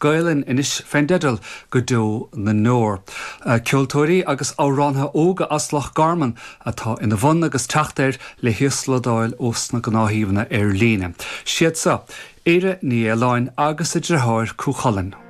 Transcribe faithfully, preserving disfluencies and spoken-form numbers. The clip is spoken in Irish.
Gaelainn anois fén dteideal go deo na ndeor. Ceoltóirí agus amhránaithe óga as Loch Garman atá ina bhun agus teacht air le híoslódáil ós na gnáthshuíomhanna ar líne. Siad seo, Éire Ní Fhaoláin agus a deartháir Cú Chulainn.